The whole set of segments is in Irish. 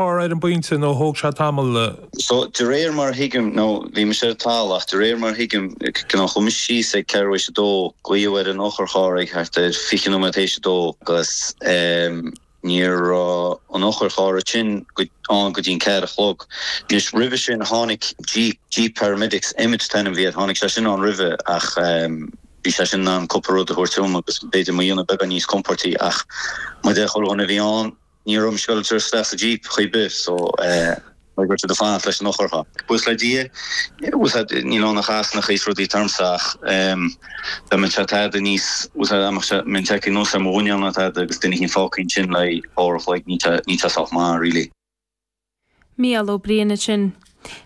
Ar an bpointe nó thóg sé tamall. So, de réir mar a thuigim, nó bhí mise ar an talamh ach de réir mar a thuigim, cineál chuaigh mise síos ag ceathrú théis a dó, glaodh ar an eochaircharr ag thart ar 20 nóiméad théis a dó agus ní raibh an eochaircharr sin ann go dtí an ceathair a chlog. Anois, roimhe sin tháinig Jeep, Jeep Paramedics, Emmet an t-ainm a bhí air, tháinig sé sin ann roimhe ach bhí sé sin in ann cúpla rud a thabhairt dom agus b'fhéidir mo dhéanamh beagán níos compóirtí ach mar a deir chuile dhuine a bhí ann, Ní raibh mise ag dul isteach sa Jeep chor ar bith so beidh ort iad a fanacht leis an eochaircharr. Buíochas le Dia, níl ann ach easnacha is rudaí ormsa ach dá mbeadh sé tada níos, dá mbeinn tagtha anuas ar mo mhuineál nó tada agus duine éicint fágtha ansin le uair a chloig, níl sé sách maith really. Mícheál Ó Briain ansin.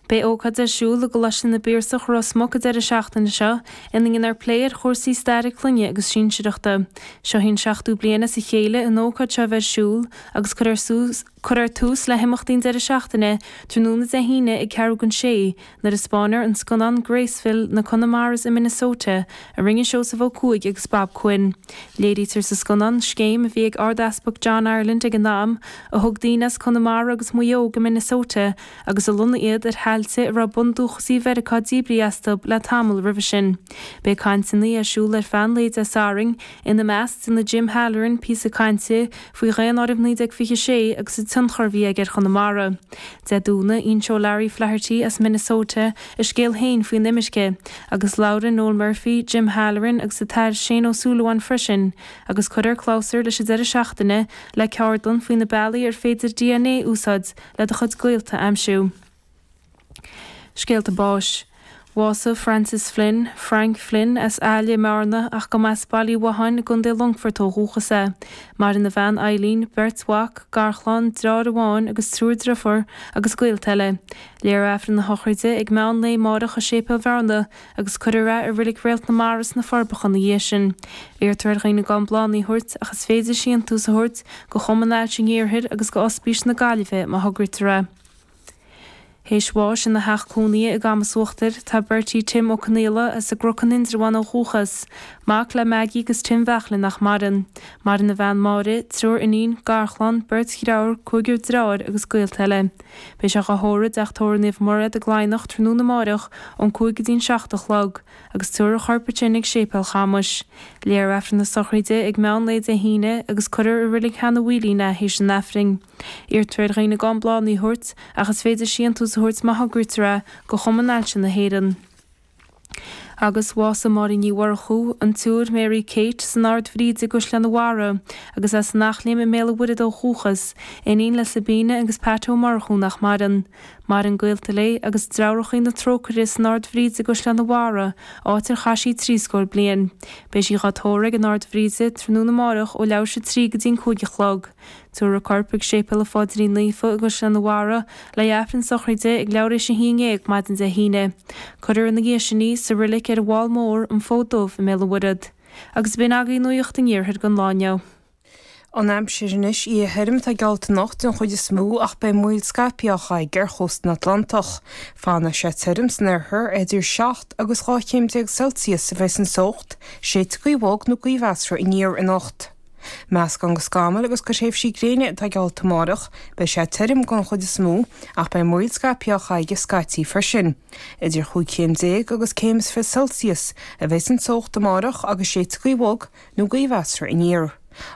Beidh ócáid ar siúl i gColáiste na bPiarsach, Ros Muc an deireadh seachtaine seo ina ndéanfar plé ar chúrsaí staire clainne agus sinsearachta. Seo í an seachtú bliain as a chéile an ócáid seo a bheith ar siúl agus cuirfear tús le himeachtaí an deireadh seachtaine tráthnóna Dé hAoine ag ceathrú don sé nuair a spáinfear an scannán Graceville, Na Connemaras i Minnesota, a rinne Seosamh Ó Cuaig agus Bob Quinn. Léirítear sa scannán scéim a bhí ag Ard-Easpag John Ireland ag an am, a thug daoine as Conamara agus Maigh Eo go Minnesota agus a lonnaigh iad ar thailte a raibh bundúchasaigh Mheiriceá díbrithe astu le tamall roimhe sin. Beidh cainteanna ar siúl ar feadh an lae Dé Sathairn, ina measc déanfaidh Jim Halloran píosa cainte faoi Dhaonáireamh 1926 agus an tionchar a bhí aige ar Chonamara. Dé Domhnaigh, inseoidh Larry Flaherty as Minnesota a scéal féin faoin imirce, agus labhróidh Noel Murphy, Jim Halloran agus an tAthair Shane Ó Súilleabháin freisin, agus cuirfear clabhsúr leis an deireadh seachtaine le ceardlann faoi na bealaí ar féidir DNA a úsáid le do chuid gaolta a aimsiú. Scéalta báis. Bhásaigh Francis Flynn, Frank Flynn, as Aill i mBearna ach go mba as Baile Uí Mhatháin i gContae Longfoirt ó dhúchas é. Maireann a bhean Eileen, beirt mhac, garchlann, deartháir amháin agus triúr driofúr agus gaolta eile. Léifear Aifreann na sochraide ag meán lae amárach i Séipéal Bhearna agus cuirfear é i Reilig Réalt na Mara sna Forbacha ina dhiaidh sin. Iarrtar ar dhaoine gan bláthanna a thabhairt ach is féidir síntiús a thabhairt go Chumann Ailse an Iarthair agus go Ospís na Gaillimhe má thograítear é. Théis bháis ina theach cónaithe i gCamas Uachtair tá Bertie Tim Ó Conaola as an gCnoc in Indreabhán ó dhúchas, mac le Maggie agus Tim Bheachlin nach maireann. Maireann a bhean Máire, triúr iníon, garchlann, beirt dhreabhar, cúigear dreabhár agus gaolta eile. Beidh sé dhá thórramh i dTeach Tórraimh Naomh Mairéad i gCladhnach tráthnóna amáireach ón 5 go dtí an 7 a chlog, agus tabharfar a chorp ansin ag Séipéal Chamais. Léifear Aifreann na sochraide ag meán lae Dé hAoine agus cuirfear i Reilig Sheanadh Mhaoilín é théis an Aifrinn. Iarrtar ar dhaoine gan bláthanna a thabhairt, ach is féidir síntiús a thabhairt má thograítear é, go Chumann Ailse na hÉireann. Agus bhásaigh Máirín Ní Mhurchú, an tSiúr Mary Kate, san Ard Bhríde i gCaisleán an Bharraigh, agus as an Eachléim i mBéal an Mhuirthead ó dhúchas, iníon le Sabina agus Pat Ó Murchú nach maireann. Maireann gaolta léi agus Treabhrachaí na Trócaire san Ard Bhríde i gCaisleán an Bharraigh, áit ar chaith sí tríscór bliain. Beidh sí dhá tórramh ag an Ard Bhríde tráthnóna amáireach ó leathuair théis a trí go dtí an 5 a chlog. Tabharfar a corp ag Séipéal an Pháidrín Naofa i gCaisleán an Bharraigh le hAifreann sochraide ag leathuair théis a haon dhéag maidin Dé hAoine. Cuirfear ina dhiaidh sin í sa roilig ar an bhFál Mór, An Fód Dubh i mBéal an Mhuirthead. Agus b'in agaibh nuacht an iarthair don lá inniu. An aimsir anois, Oíche thirim atá geallta anocht den chuid is mó ach beidh moill scaipthe á chaitheamh ar chósta na Atlantach. Fanfaidh sé tirim san oirthear, idir 7 agus 12 chéim Celsius a bheas an teocht, séidfidh gaoth bhog nó gaoth mheasartha aniar anocht. Meascán de scamaill agus de thréimhsí gréine atá geallta amárach, beidh sé tirim den chuid is mó ach beidh moill scaipthe á chaitheamh scaití freisin. Idir chúig chéim déag agus céim is 20 Celsius a bheas an teocht amárach agus séidfidh gaoth bhog nó gaoth mheasartha aniar.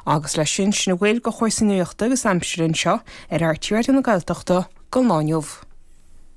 Agus leis sin, sin a bhfuil de chúrsaí nuachta agus aimsire anseo ar RTÉ Raidió na Gaeltachta don lá inniu.